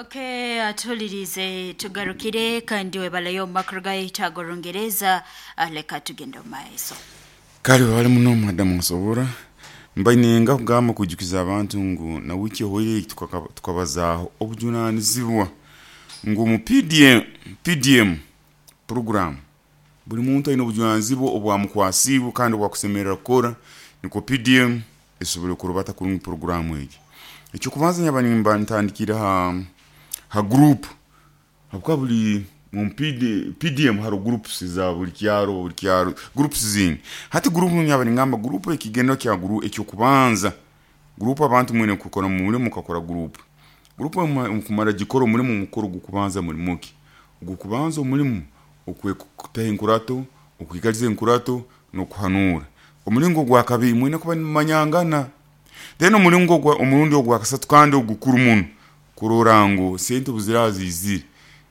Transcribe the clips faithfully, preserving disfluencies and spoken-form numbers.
Okay, atulirize tugarukire kandi webalayo makuru gaitu ag'Orungereza. Ah, leka tugende omu maiso. Kale bali muno, madamu nsobora mbainenga kugamba kwijukiza abantu ngu na wiki ehoire tukabazaaho obujunanizibwa ngu mu P D M, P D M program buli muntu aine obujunanizibwa obwamukwasiibwe kandi obwakusemerera kukora nikwo P D M esobole kurubata kurungi programu egi. Ekyokubanza, nyaba nimba ntandikire ha ha group, habwokuba buli mu P D, P D M haro groups za buli kyaro, buli kyaro groups zingi. Hati group, nyaba ningamba group, ekigendo kya group, ekyokubanza group abantu mwine kukora mu mulimu mukakora group group mukumara gikora omulimu mukuru gukubanza. Mulimu ki ogukubanza? Omulimu okutaha enkurato, okwikaliza enkurato n'okuhanura. Omulingo gwa kabiri, mwine kuba nimumanyangana. Then omulingo gwa omurundi ogwa kasatu kandi ogukuru muno, kurora ngu sente obuziraaba ziizire,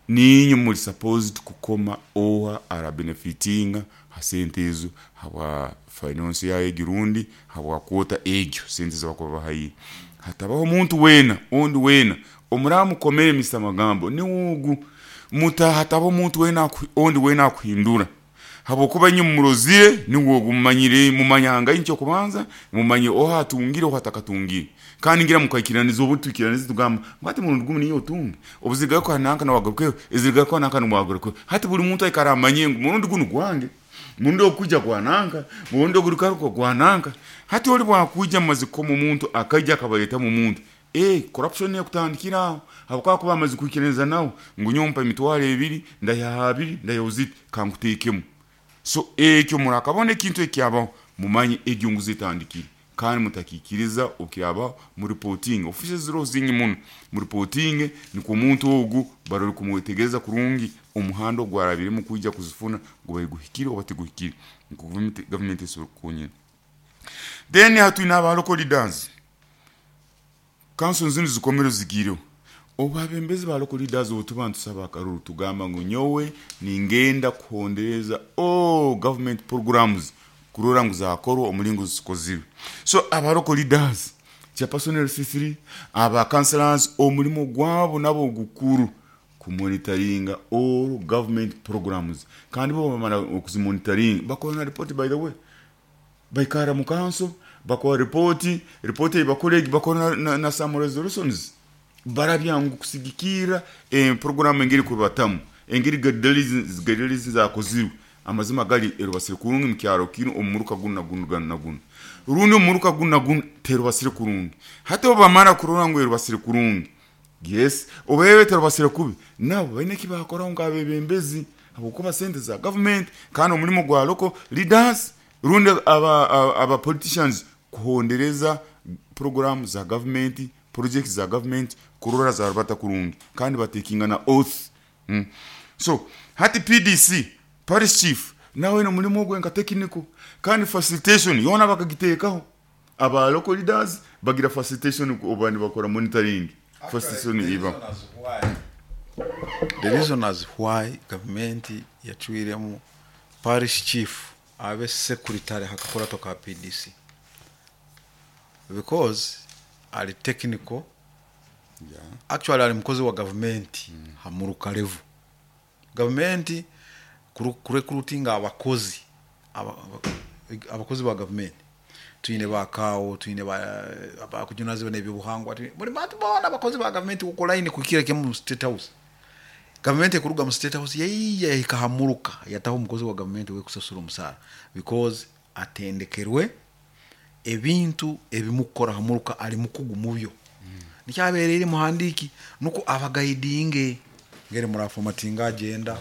niinywe muri supposed kukoma oha arabenefitinga ha sente ezo, habwa finance yayo egi rundi habwa quota egyo sente ezibakuba bahaire. Hatabaho omuntu weena ondi weena omuraba mukomere. Mister Magambo niwe ogu muta hatabaho omuntu weena ondi weena akuhindura, habwokuba inywe mumurozire, niwe ogu mumanyire, mumanyangaine. Ekyokubanza mumanye oha atungire, oha atakatungire, kandi ngira mukaikiraniza. Obu twikiraniza tugamba ngu hati murundi gumu niyo otunge, obuzigaruka nanka nawagarukeho, ezirigarukaho nanka niwagarukeho. Hati buli muntu aikara amanye ngu murundi gunu gwange, murundi ogukwijya gwa nanka, murundi ogurugaruka gwa nanka. Hati oli bwakwija mumaze kukoma omuntu, akaija akabaletamu omuntu, eh corruption ekutandikira aho, habwokuba kuba amaze kwikiraniza nawe ngu nyowe mpa emitwaro ebiri, ndayiha abiri, ndayiha ziti kankuteekemu. So ekyo murakabona ekintu ekyabaho, mumanye egyo nguzi etandikire, kandi mutakikiriza. Okirabaho, mureporting offices ziroho zingi muno, mureporting nikwo omuntu ogu barole kumwetegereza kurungi omuhanda ogwarabiremu kwija kuzifuna gubaire guhikire oba tiguhikire, nikwo gavumenti esobole kukonyera. Then hatwine aba local leaders. Council zinu zikomere zigireho obwabembezi ba local leaders. Obu tuba nitusaba akaruru, tugamba ngu nyowe ningenda kuhondereza all government programs kurora ngu zakorwa omulingo zikozirwe. So aba local leaders, chairperson L C three, aba councillors, omulimo gwabo nabo gukuru kumonitoringa all government programs, kandi bo bamara okuzimonitoringa bakora na report. By the way, baikara mu council bakora ripoti, ripoti ei bakora egi bakora na, na, na some resolutions barabya ngu kusigikira eh, program engeri kurubatamu, engeri guidelines zakozirwe, amazima gali erubasire kurungi mukyaro kinu omuruka gunu na gunu ganu na gunu, rundi omuruka gunu na gunu terubasire kurungi. Hati obu bamara kurora ngu erubasire kurungi, yes, oba terubasire kubi, nabo baine eki bakoraho nk'abebembezi, habwokuba sente za government. Kandi omulimo gwa local leaders rundi aba, aba, aba politicians kuhondereza program za government, projects za government, kurora zarubata kurungi, kandi batekinga na oath mm. So hati P D C, parish chief, nawe nomulimo ogwe nka technical kandi facilitation yona bakagiteekaho. Aba local leaders bagira facilitation oba nibakora monitoring, facilitation iba. The reason as why gavumenti yacwiremu parish chief abe secretary hakakurato ka P D C, because ali technical. yeah. Actually ali mukozi wa gavumenti mm. Hamuruka level gavumenti kurecruitinga abakozi, aba- aba- abakozi ba gavumenti, twine bakaawo, twine bakujunazibwa n'ebyobuhangwa, twine- buli bantu boona abakozi ba gavumenti ku line kuhikira kimu mu State House. Gavumenti ekuruga mu State House yaiya yahika hamuruka, yataho omukozi wa gavumenti wekusasura omusaara because atendekerwe ebintu ebimukukora hamuruka, ali mukugu mubyo, nikyabereire muhandiki nuko abaguidinge ngeri muraformatinga agenda,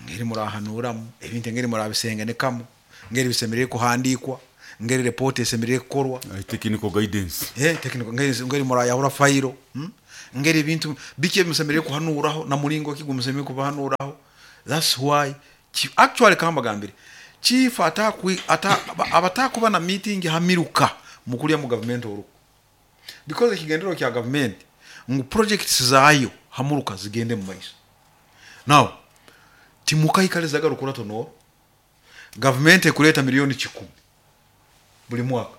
ngeri murahanuramu ebintu, engeri murabisengenekamu, ngeri bisemerere kuhandikwa, ngeri report esemerere kukorwa. Uh, technical guidance. Eh, technical, ngeri ngeri murayahura fayiro, hmm? Ngeri ebintu biki ebimusemerere kuhanuraho na mulingo ki gumusemerere kubahanuraho. That's why chi- actually kambagambire chief atakwi ata abatakuba na meeting hamiruka mukulya mu government oruko, because ekigendero kya government ngu projects zaayo hamuruka zigende mu maiso. Now timukaikalizaga rukurato noro gavumenti ekuleta miliyoni kikumi buli mwaka,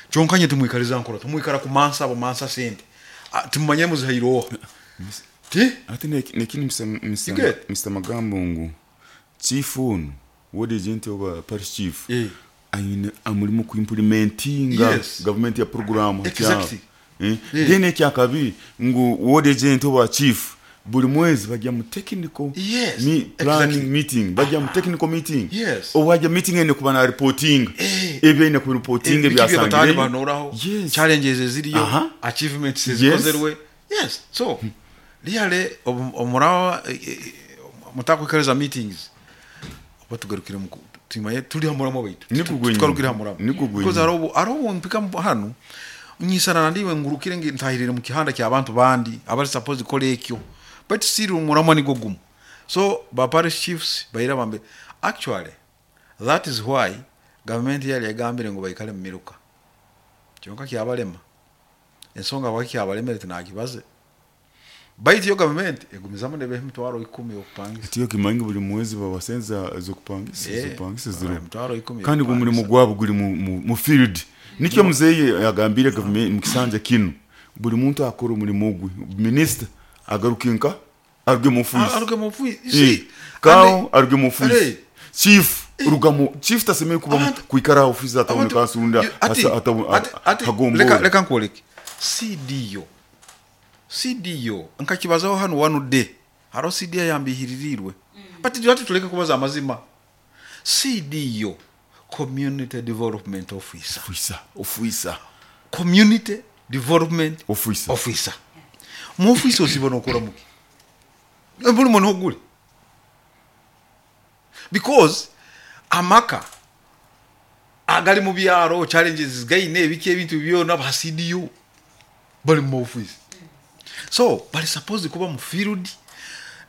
kyonkanye timwikaliza nkurato, mwikara kumansa abo mansa sente. Ah, timumanye muzihaire oha. Ti? Ate neki- nekindi Mr. You get? Mr. Magambo ngu chief ono ward agent oba parish chief Eh. aine amulimu kuimplementinga Yes. government ya program Exactly. eh? Eh. Then ekyakabi ngu ward agent oba chief buli mwezi bajja mu technical Yes, mi, planning exactly. meeting bajja mu technical meeting Yes. obwajja meeting ene kuba na reporting Eh. ebyo ku reporting Ebiki bye bataali ebyasangireyo banoraho yes challenges eziriyo Aha. achievements Yes. ezikozerwe yes so really omurawa mutakwekereza meetings oba tugarukire mu tumaye tuli hamuramo baitu Niko gwenye. tukarukire hamuramo Niko gwenye. because hariho hariho mpika mu- hano nyisana nandiwe ngurukire ngi ntahirire mu kihanda ky'abantu bandi abari supposed gukora ekyo but siri umuramo nigo gumu so ba parish chiefs baira bambe actually that is why government yali yagambire ngo baikale mu miruka kyonka kyabalema ensonga baki kyabalemere tinakibaze baitu yo government egumizamu nebeha emitwaro ikumi okupangisa tiyo kimanyi buli mwezi babasenza zokupangisa Eh, zokupangisa ziro emitwaro ikumi kandi gwo mulimu gwabo guli mu, mu, mu field nikyo muzeyi yagambire government mu kisanja kino buli muntu akora omulimu gwe minisita agaruke nka aruge mu office aruge mu office you Eh, see kao aruge mu office Hey. chief ruga mu chief tasemeye kuba mu- Abantu- kwikara office ataboneka Abantu- asunda you- ati- ati- ati- leka leka nkwoleke cdo cdo nkakibazaho hano one day hariho cdo yambihiririrwe but ati tuleke kubaza amazima cdo community development officer officer officer community development Officer. officer mu office osiba nokora muki buli muntu ogule because amaka agali mu byalo challenges gaine ebiki ebintu byona ba CDO bali mu office so bali supposed kuba mu field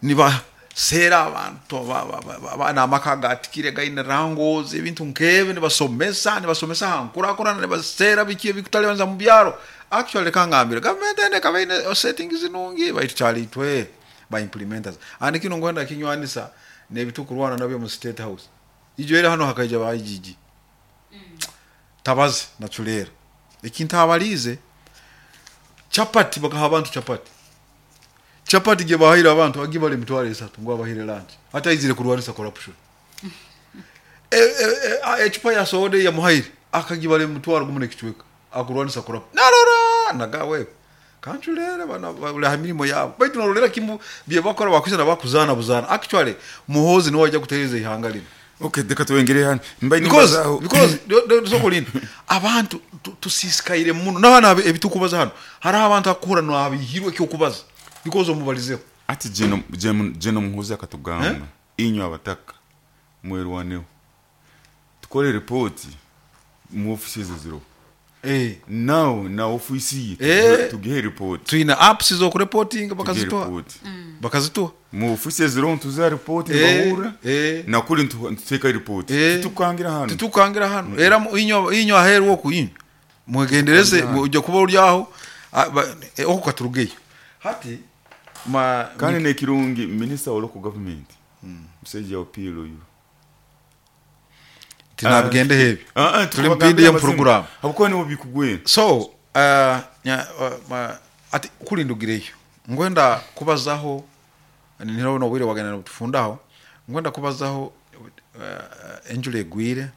nibaseera abantu ba- ba- ba- ba- abaana amaka gatikire gaine rangozi ebintu nkebe nibasomesa nibasomesa hankurakurana nibaseera biki ebikutalibanza mu byalo actually reka ngambire gavumenti ende ekaba eine settings nungi baitu kyalitwe ba implementers and kino ngwenda kinywanisa nebitukurwana nabyo mu state house ijo era hano hakaija ba IGG tabazi naculera ekintu abalize chapati bakaha abantu chapati chapati gye bahayire abantu agibala emitwalo esatu ngo abahire lunch ate aizire kurwanisa corruption e, e, e, ecupa ya soda yamuhaire akagibala emitwalo gumu nekicweka akurwanisa corruption narora nagawe kanculere bana bali mirimo yabo baitu narolera kimu bye bakora bakwisa nabakuzana buzana actually muhozi niwe wajja kutereza ihanga lino okay reka twengere hano mbaye because nimbazaho because do- do- sokolinda abantu tu- tusisikaire muno n'abaana abe- ebitukubaza hano hariho abantu akuhura nabihirwe ekyokubaza because omubalizeho ati jeno jeno jeno muhuza akatugamba inywe abataka mwerwaneho tukore ripoti mu ofisi ezo ziro eh nawe na ofisi ye Eh. tugihe ripoti tuyina apps zokureportinga tugihe bakazituha ripoti bakazituha mu ofisi eziro ntuza ripoti Eh, bahura eh. nakuri ntu- ntuteka ripoti Eh. tutukangira hano titukangira hano era mu- inyo inyo aheru oku inyo mwegendereze ujja kuba uri aho ah, ba- eh, oko katurugeyo hati ma kandi nekirungi minisita wa local government musajja opiilo oyo tinabigende hebi Ah, ah, tuli mu tukubagambira PDM amazima. program habwokuba nibo bikugwera so uh, nya, uh, ma, ati kulindugireyo ngwenda kubazaho nirabona obwire wagenda tufundaho ngwenda kubazaho uh, enjura egwire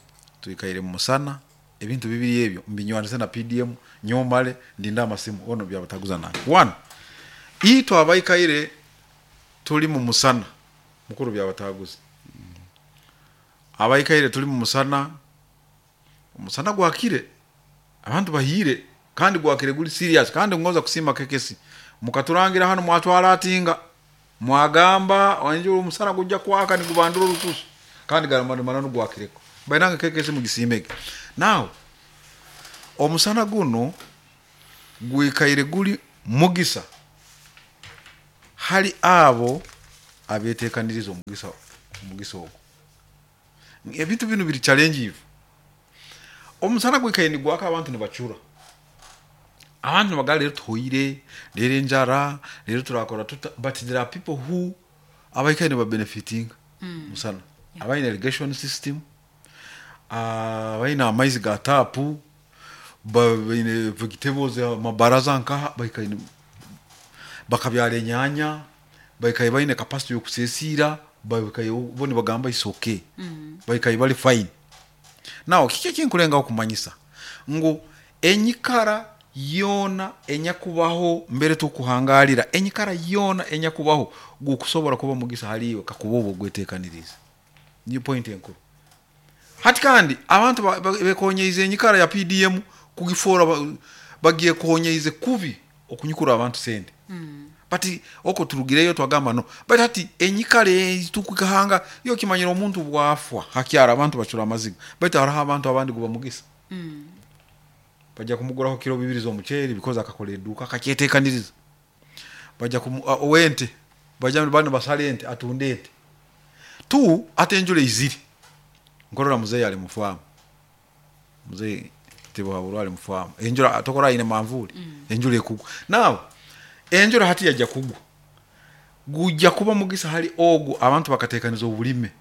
tuikaire mu musana ebintu bibiri ebyo mbinywanise na PDM nyomale ndinda amasimu ono byabataguza nange one itwe abaikaire tuli mu musana mukuru byabataguza abaikaire tuli mu musana omusana gwakire abantu bahire kandi gwakire guli serious kandi ngoza kusima kekesi mukaturangira hano mwatwala atinga mwagamba wanjura omusana gujja kwaka nigubandura olususu kandi galamanano gwakireko bainanga kekesi mugisimege now omusana guno gwikaire guli mugisa hali abo abetekaniriza omugisa omugisa ogwo ebintu bino biri challenge omusana gwikaire nigwaka abantu nibacura abantu nibagala rero tuhoire rero enjara rero turakora tuta but there are people who abaikaire nibabenefitinga musana abaine irrigation system ah, abaine amaizi ga tapu ba- baine vegetables amabaraza nkaha baikaire Bakabyara enyanya, baikaye baine capacity yokusesiira, baikaye bo nibagamba is okay. Mm. Baikaye bali fine. Now kiki ekinkulengaho kumanyisa ngu enyikara yoona enyakubaho mbere tukuhangalira, enyikara yoona enyakubaho gukusobora kuba mugisa haliwe kakuba obwo gwetekaniriza. Niyo point enkuru. Hati kandi abantu bekonyeize enyikara ya P D M kugifora bagiye konyeize kubi okunyukura abantu sente. Mm. But oko turugireyo twagamba no. But hati enyikara tukukahanga yo kimanyira omuntu bwafwa hakyara abantu bachura amaziga. But hariho abantu abandi guba mugisa. Mm. Bajja kumuguraho kilo bibiri z'omuceeri because akakola edduuka akakyeteekaniriza. Bajja owente bajja bano basale ente atunde ente. Tu ate enjura iziri. Nkorora muzeeyi ali mufamu. Muzeeyi Tibuhaburwa ali mufamu. Enjura atokora ine manvuli. Mm. Enjura ekugwa. Now enjura hati yajja kugwa. Gujja kuba mugisa hali ogu abantu bakateekaniza obulime.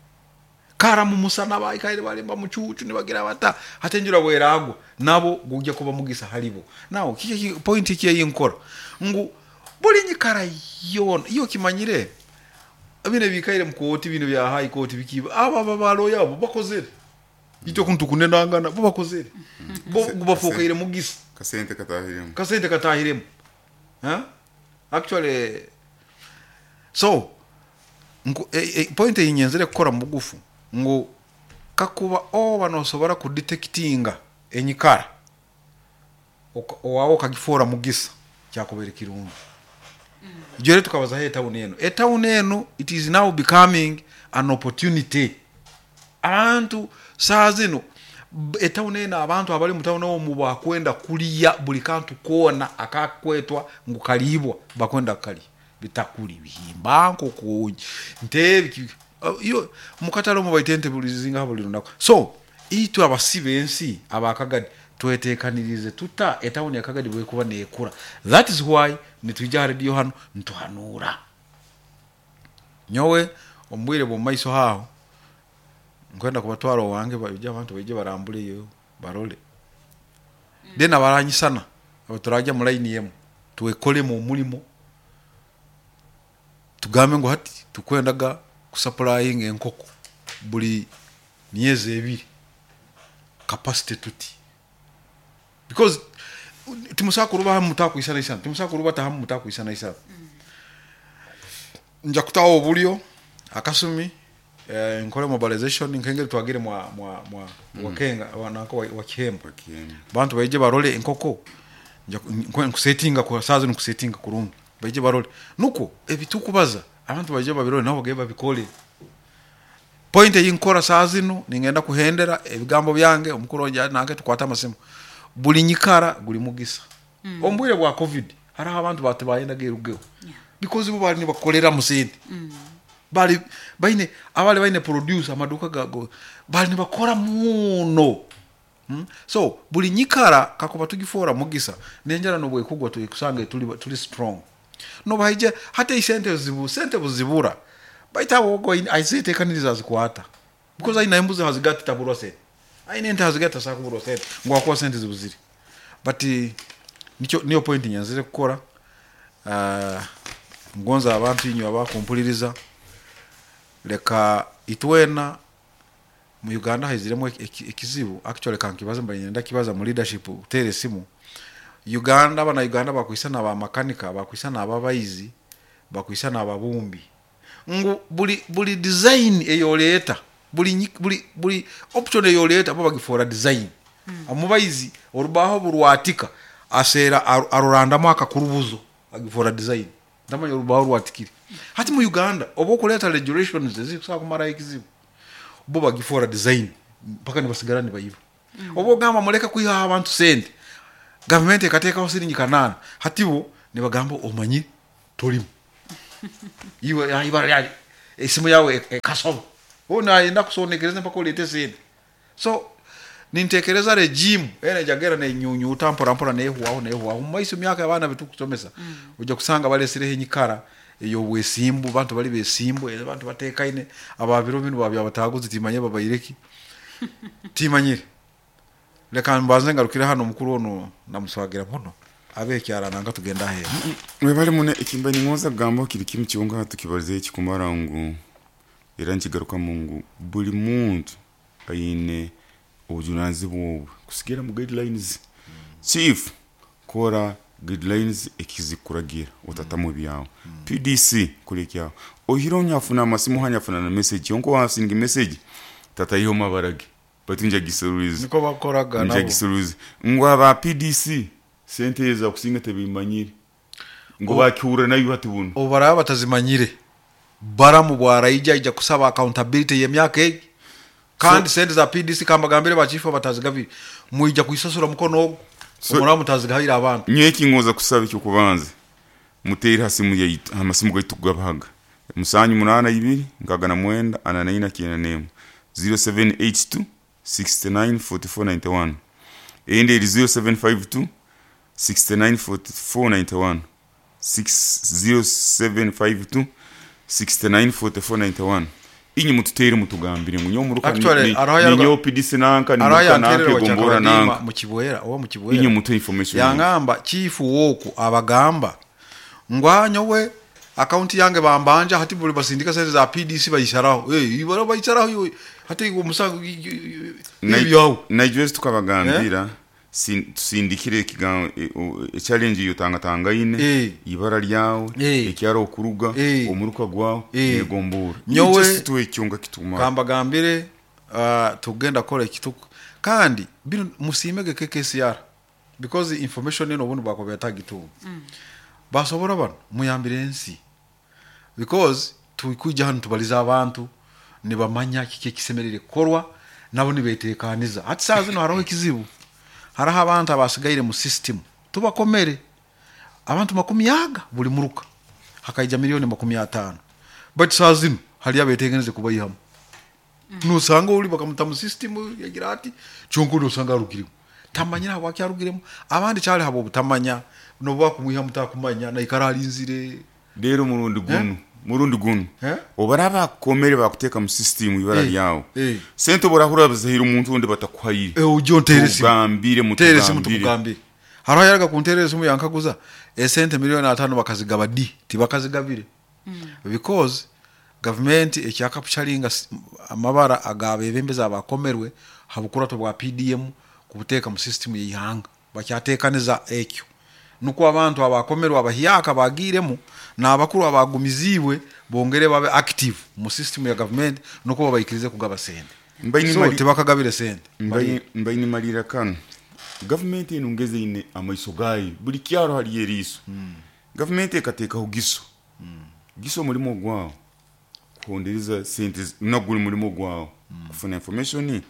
Kara mu musana baikaire balimba mucucu nibagira bata hati enjura bweragwa nabo gujja kuba mugisa halibo. Now kiki point iki yinkora ngu buli nyikara yona iyo kimanyire bine bikaire mu kooti bino bya high court bikiba aba babalo yabo bakozere ito kuntu kunenangana bo bakozere bo gubafokaire mugisa kasente katahiremu kasente katahiremu ha actually so ngu e, e, point yinyenzere kukora mugufu ngu kakuba oba nosobora kudetectinga enyikara owawo kagifora mugisa kyakubere kirungi. Mm. Jere tukabaza he town eno. E town eno it is now becoming an opportunity. Abantu saa zino e town eno abantu abali mu town omu bakwenda kuliya buli kantu kona akakwetwa ngu kalibwa bakwenda kali bitakuli bihimba nkoko nte iyo mukatalo mu baitente buli zinga buli lunako. So itwe abasibe ensi abakagadi twetekanirize tuta etawuni ya Kagadi bwekuba nekura. That is why nitujja radio hano ntuhanura. Nyowe ombwire bo maiso haho nkwenda kubatwara owange bajja abantu baije barambule yo barole. Mm. Then abaranyisana abaturaja mu line yemu tuwekole mu mulimo tugambe ngo hati tukwendaga kusupplying enkoko buli myezi ebiri capacity tuti. Because timusaka ruba mutakuisana isana timusaka ruba tahamu mutakuisana isana. Mm. Nja kutawo obulyo akasumi eh, nkole mobilization nkengere twagire mwa mwa mwa mm. wakenga wanako wa Kihembo bantu baije barole enkoko nja nkusetinga kwa sazo nkusetinga kurungi baije barole nuko ebitukubaza abantu baije babirole nabo geba bikole. Point yinkora saazino ningenda kuhendera ebigambo byange omukuru onja nange tukwata amasimu buli nyikara guli mugisa. Mm. Ombwire bwa covid hariho abantu batibayenda gerugeo. Yeah. Because bo bali nibakolera musente. Mm. Bali baine abali baine produce amaduka gago bali nibakora muno. Mm? So buli nyikara kakuba tugifora mugisa nenjara no bwekugwa tuyikusanga tuli tuli strong. No baije hata isente zibu sente buzibura. Baita wogo aizetekaniriza zikwata. Because aina embuzi hazigati taburwa sente. Aine ente hazigata sakuburwa sente ngo akwa sente zibuziri. But nicho niyo point nyanzire kukora. Uh, ngonza abantu inyo abakumpuliriza leka itwena mu Uganda haiziremo ekizibu actually kankibaza mbanyenda kibaza mu leadership utere simu Uganda bana Uganda bakwisana ba makanika bakwisana ababayizi bakwisana ababumbi ngu buli buli design eyoleta buli buli buli option eyoleta bo bagifora design. Mm. Amubayizi orubaho burwatika asera arurandamo akakurubuzo agifora design ndamanya orubaho rwatikire. Hati mu Uganda obo kuleta regulations zikusa kumara ekizibu bo bagifora design mpaka nibasigara nibayiba. Mm. Obo gamba muleka kwiha abantu sente government ekateka siringi kanana hati bo nibagamba omanyi tolimu iwe ibara esimu yawe ekasoba ona yenda kusonekereza mpaka ulete sente. So nintekereza regime ene jagera ne nyunyu utampora mpora nehuwaho nehuwaho maiso myaka abana bitukusomesa. Mm. Ujja kusanga balesireho enyikara eyo bwesimbu bantu bali besimbu abantu batekaine ababiro binu babya bataguzi timanye babayireki timanyire leka mbanze ngarukire hano mukuru ono namuswagira muno. Abekyara nanga tugenda aheeru. Webale muno. Ekimba ningoza kugamba kiri kimu kyonka, tukibalizeho ekikumara ngu era nkigarukamu ngu buli muntu aine obujunanizibwa obwe kusigira mu guidelines. Chief, kora guidelines ekizikuragira, otatamu ebyawe. P D C, kora ekyawe. Oihire nyafuna amasimu, hanyafuna na message yonka, wasinga message tataiho mabara ge, baitu njagiseruliza. Niko bakoraga nabo. Njagiseruliza ngu aba P D C sente eza kusinga tebimanyire ngu bakihurra nayo hati buno. Obu baraba batazimanyire, baramu bwaraija ija kusaba accountability y'emyaka egi. Kandi sente za P D C, kambagambire, bachifu batazigabire, mwija kuisasura mukono ogwo. So- omuraba mutazigahire abantu. Nyowe ekingoza kusaba, ekyokubanza, muteere ha simu yaitu, amasimu gaitu kugabahaga: musanju munaana ibiri nkaaga na mwenda ana naina kyenda n'emu, zero seven eight two sixty-nine forty-four ninety-one. Eyindi eri zero seven five two sixty-nine forty-four ninety-one, zero seven five two sixty-nine forty-four ninety-one. Inye mututeere, mutugambire ngu nyowe muruka Actually, hariho yaruga- ninyowe P D C nanka, hariho nimuruka nanka, yantererwa egombora Kyakabadiima nanka. mu Kibwera oba mu Inye Kibwera. mutuhe information. Yangamba chifu woku abagamba ngu nyowe akaunti yange bambanja, hati buli basindika sente za P D C bayisaraho. Eh, ibara bayisaraho yo hati omusango ibyawo. Naijwezi tukabagambira sin- tusindikire ekigambo, e challenge iyo tangatangaine, Eh. ibara lyawe, Eh. ekyaro okuruga, Eh. omuruka gwawe, Eh. negombora. Nyowe- Just tuwe ekyonga kituma. Kambagambire, uh, tugenda kola ekituku kandi bino musiimege K K C R because information eno obundi bwakuba yatagitunga. Basobora bano muyambire ensi because tukwija hano tubaliza abantu nibamanya kiki ekisemerire kukorwa, nabo nibetekaniza. Hati saa zino hariho ekizibu, hariho abantu abasigaire mu system. Tubakomere abantu makumi aga buli muruka, hakaija miliyoni makumi ataano, but saa zino hali abeteganize kubayihamu. Nosanga oli bakamuta mu system yagira ati kyonka nosanga arugiremu, tamanyira habwaki arugiremu. Abandi kyali habo obutamanya, nobu bakumwihamu takumanya, naikara alinzire. Rero murundi guno murundi guno Eh? obaraba bakukomere, bakuteeka mu system ibara Eh, lyawe, eh. sente oborahura bazahira omuntu ondi batakuhaire, Eh, ujye ontere esimu. tugambire. Tere esimu. Mutugambire. Tukugambire. Hariho yaraga kunterera esimu yankaguza esente miliyoni ataano bakazigaba di. Tibakazigabire because gavumenti ekyakapucharinga s- amabara agabebembezi abakomerwe habukurato bwa P D M kubuteeka mu system yeihanga. Bakyatekaniza ekyo nukwo abantu abakomerwe abahyaka bagiiremu n'abakuru abagumiziibwe bongere babe active mu system ya gavumenti, nukwo babaikirize kugaba sente. Mbaine So mali- tibakagabire sente. Mbaine mbaine malira kano, gavumenti eno ngeze ine amaiso gayo buli kyaro haliyo eriiso. Gavumenti ekateekaho giso giso omulimu gwawo kuhondereza sente zi- naguli mulimu gwawo kufuna information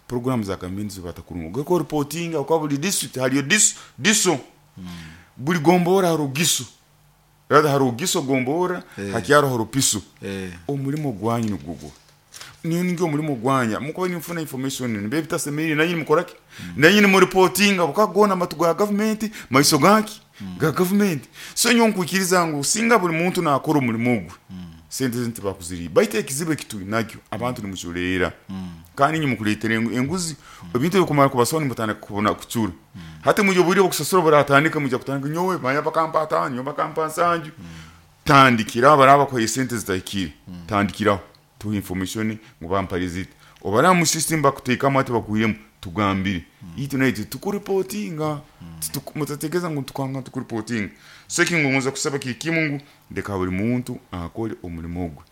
program za gavumenti zibata kurungi, ogeko reporting kwa buli district haliyo diso diso buli gombora hariho giso, rather hariho giso gombora, Eh. hakyaro hariho piso. Eh. Omulimo gwanyu nigugwo niyo ningyo omulimo gwanya mukuba nimufuna information nibe bitasemerire, nanyini mukoraki, nanyini mureportinga bukagona amatu ga gavumenti, maiso gaki ga gavumenti. So nyo nkwikiriza ngu singa buli muntu nakora omulimo gwe, sente zinti bakuziriye. Baitu ekizibu ekituli nakyo, abantu nimuculeera kandi inye mukuleetera engu- enguzi, ebintu ebikumara kubasoma nimutandika kubona kucura. Hati mujya obwire bwokusasura buratandika, mujya kutandika nyowe manya bakampa ataano, nyowe bakampa nsanju. Tandikiraho abaraba bakuhaye sente zitahikire, tandikiraho tuha information ngu bampare ziti. Obaraba mu system bakuteekamu ati bakuhiremu, tugambire itu naitwe tukuripotinga. Mutategereza ngu tukanga tukuripotinga. So ekingongoza kusaba kiri kimu ngu ndeka buli muntu akore omulimo gwe.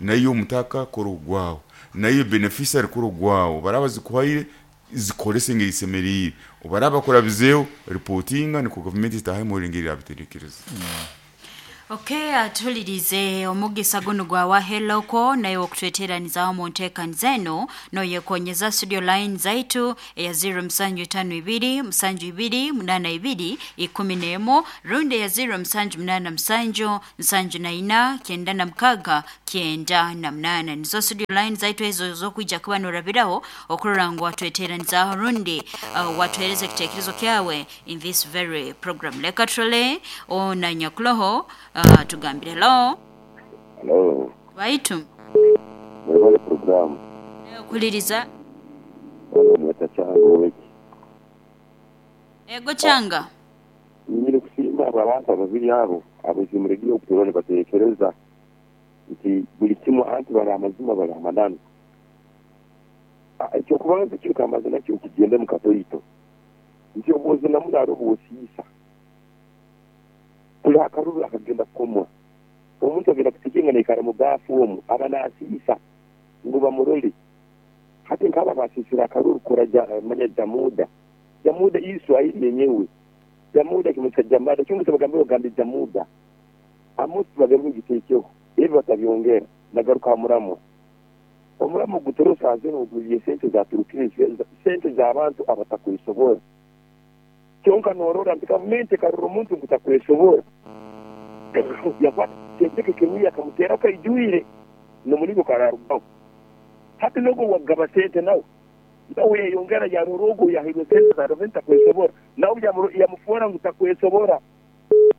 Nayo omutaka kora ogwawe, nayo beneficiary kora ogwawe. Baraba zikuhaire, zikorese engeri isemeriire. Obaraba bakurabizeeho, ripotinga, nikwo gavumenti itahe engeri yabiterekereza. Okay, atulirize omugisa guno gwa waheloko naye okutweteranizaawo mu nteekaniza eno noyekonyeza studio line zaitu eya zero musanju tano ibiri musanju ibiri munana ibiri ikumi n'emu, rundi eya zero musanju munana musanju nsanju na ina kyenda na mukaga kyenda na munana. Nizo studio line zaitu ezo zokwija kuba norabiraho okurora ngu watweteranizaaho rundi uh, watuhereza ekitekerezo kyawe in this very program. Leka turole ona nyakuloho, uh, tugambire. Hello. Hello, Baitu mwebale programu. Kuliriza. Bano mweta Kyanga oweki. Ego Kyanga. Nyine. Abo abantu ababiri abo abazimuregiye okuturone batekereza nti buli kimu anti bali amazima bali amananu. Ekyokubanza kiri kamaze nakyo kigende mu katoito nti obwozi namuna obwosiisa kuli akaruru akagenda kukomwa omuntu agenda kutekenga naikara mu baafu omu aba nasiisa ngu bamurole. Hati nkaba basisira akaruru kora manya jamuda jamuda Iswahili yenyewe jamuda kimutsa jamada kimutsa bagambe bagambe jamuda amusi bagambe gitekeho ebyo batabyongera nagaruka muramo omuramo gutorosa azeno oguliye sente za Turukiya sente z'abantu abatakwisobora kyonka norora nti gavumenti karura omuntu ngutakwesobora yakwata sente kemiya akamutera kaijuire nomuligo kararugaho. Hati nogo wagaba sente nawe nawe yongera yarorogo yahirwe sente za gavumenti takwesobora nawe yamufuora ngutakwesobora.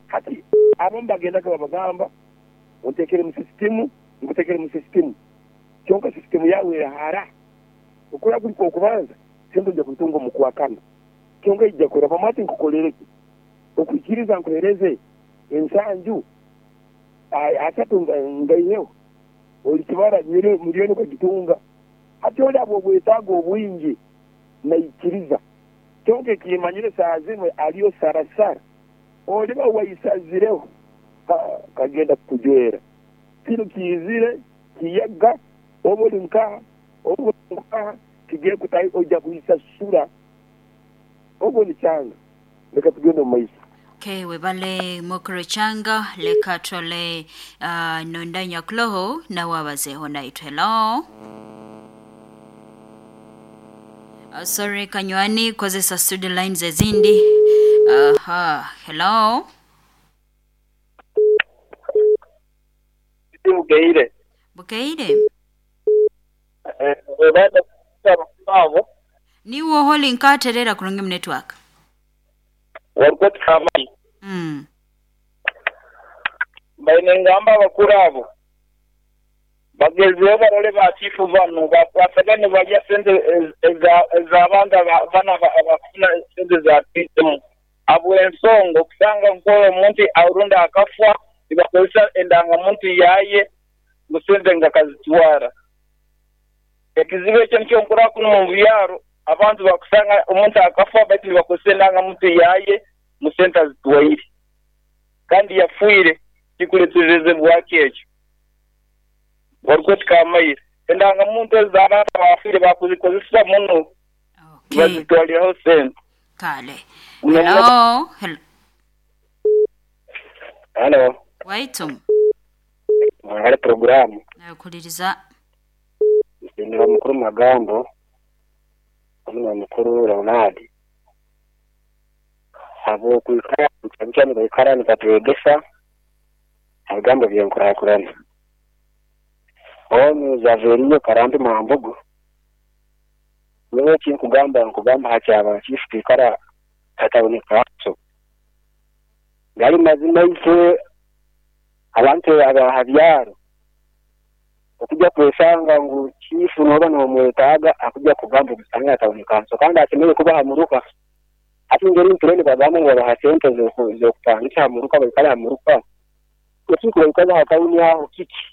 Hati abo mbagendaga babagamba ontekere mu sisitimu ngutekere mu sisitimu kyonka sisitimu yawe hara okura kuli okubanza sente nja kutunga mu kwakana kyonka ijja kora pamati nkukolereke okwikiriza nkuhereze ensanju asatu ngaiheho olikibara milioni ukagitunga. Hati oli abo obwetaago obwingi naikiriza kyonka ekimanyire saa zimwe aliyo sarasara oliba waisazireho kagenda kukujwera kino kiizire kiyaga oba oli nkaha oba oli nkaha kigiye kutahi ojja kuisasura ogwo ni changa. Leka tugende mu maiso. Okay, webale mukuru changa leka tole uh, nondanya kloho na wabazeho naitwe. Hello. Uh, sorry kanywani kozesa studio lines ezindi. Aha, uh, hello. Bukeire. Bukeire. Eh, webale abo. Niwo holi nkaterera kurungi mu network. Warukoti kamai. Mm. Baine ngamba abakuru abo bagezeho barole ba chifu bano basagane barya sente ez'abantu bana abafuna sente za P M abo ensonga okusanga nk'oyo omuntu arunda akafwa nibakozesa endangamuntu yaye ngu sente nga kazitwara. Ekizibu ekyo nikyo nkura kuno mu byaro abantu bakusanga omuntu akafa baitu nibakozesa endangamuntu yaye mu sente azitwaire kandi yafuire kikuletereze bwaki ekyo warukoti kamaire endangamuntu ez'abantu abafiire bakuzikozesa muno Okay. bazitwaliraho sente. Kale. Hello. Hello. Hello. Waitum. Mwangale programu Nakuliriza. Ndira mukuru magambo omuna mukuru Leonard abo kwikara cyane baikara nibatwegesa ebigambo byenkurakurana onu Zaveriyo Karambi Mwambugu niwe kinkugamba nkugamba hakyaba chifu kwikara kataboneka so gali mazima itwe abantu abahabyaro okujja kwesanga ngu chifu noba nomwetaaga akujja kugamba omusanga ataboneka so kandi asemere kuba hamuruka ati ngeri mpireni bagamba ngu babaha sente z'okupangisa hamuruka baikale hamuruka ekinku baikaza hatawuni aho kiki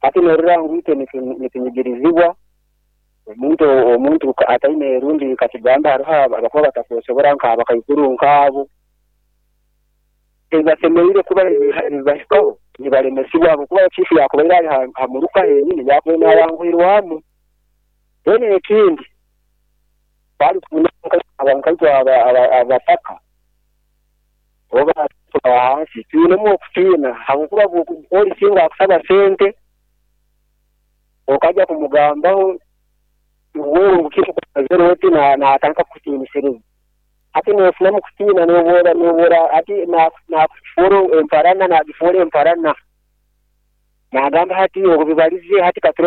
ati norora ngu itwe nitunyigirizibwa omuntu omuntu ataine erundi katigamba hariho abakuba batakusobora nk'abakaikuru nk'abo ebasemereire kuba nibahikaho nibalemesibwa abo kuba chifu yakubaire ari hamuruka henyini yakubaire nayanguhirwamu. Then ekindi bari abantu abataka oba hansi twinemu okutiina habwokuba poliisi akusaba sente okajja kumugambaho wewe ngukikukozere oti natandika kukutiinisiriza ati nofunamu kutiina nobora nobora ati nakufuura emparana nagifuura emparana nagamba hati obwo bibalize hati kature